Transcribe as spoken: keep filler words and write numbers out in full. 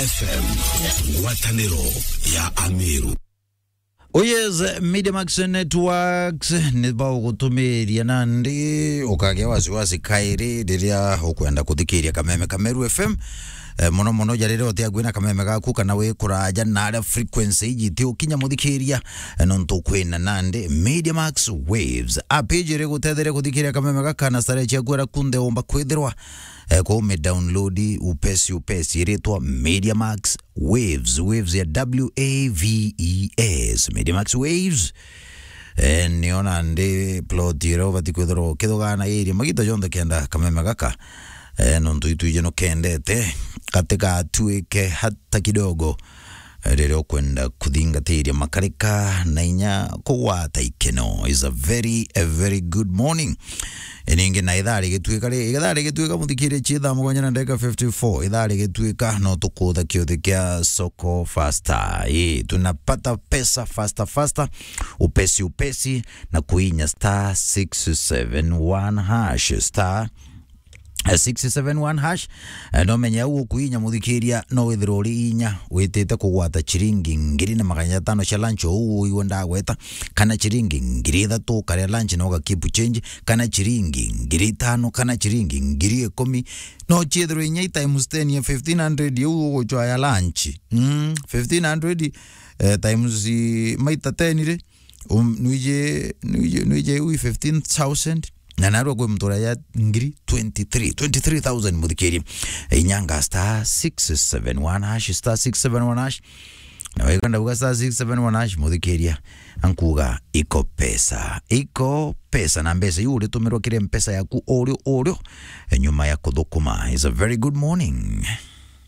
F M, ngwatanĩro ya Ameru. Oh yes, Media Max Networks ni bagutumiria nandi ukagea wasiwasi kairi riria ukwenda kuthikiria kameme ka Meru F M. Eh, mono mono ja riria utiagwi na kameme gaku kana wi kuraja na aria frequency iji ti ukinya muthikiria, eh, nontu kwina nandi Media Max Waves. App iji iri gutetheria kuthikiria kameme gaka na starehe ciaku aria kunthe umba kwithirwa, eh, kwa ume download upesi upesi, iritwa Media Max Waves, Waves ya W A V E S, Media Max Waves. Eh, niona ndi plot iria ubati kwithirwa ukithugana iri magita jonthe kenda kameme gaka, eh, nontu itwiji nukendete, gatigatuike hata kidogo, eh, riria ukwenda kuthingatiria makarika na inya kugwata ikeno. Is a very, a very good morning. Ningi na ithaa rigituika ri, ithaa rigituika, muthikiria, ci thaa mugwanja na ndagika fifty-four, ithaa rigituika, no tukutha kiuthi kia soko faster. Ii, tunapata pesa faster faster, upesi upesi, na kuinya star six seven one hash, star, eh, six seven one hash. Eh, no menye au ukuinya, muthikiria, no withirwa uri inya witite kugwata ciringi ngiri na magana jatano cia lunch, ou uigwe ndagweta, kana ciringi ngiri ithatu ukaria lunch na uga keep change, kana ciringi ngiri itano, kana ciringi ngiri ikumi, no ciithirwe inya i times ten ya fifteen hundred iu ugucwa ya lunch. Mm, fifteen hundred, eh, times, eh, maita ten ri, um, nwiji, nwiji, nwiji iu i fifteen thousand, na narua kwi mtura ya ngiri twenty-three, twenty-three thousand, muthikiria. Inyanga star six seven one hash, star six seven one hash. Na weka ndauga star six seven one hash, muthikiria, ankuga iko pesa. Iko pesa, na mbeca iu uritumirwa kiri mpesa yaku urio urio, eh, nyuma ya kuthukuma. It's a very good morning.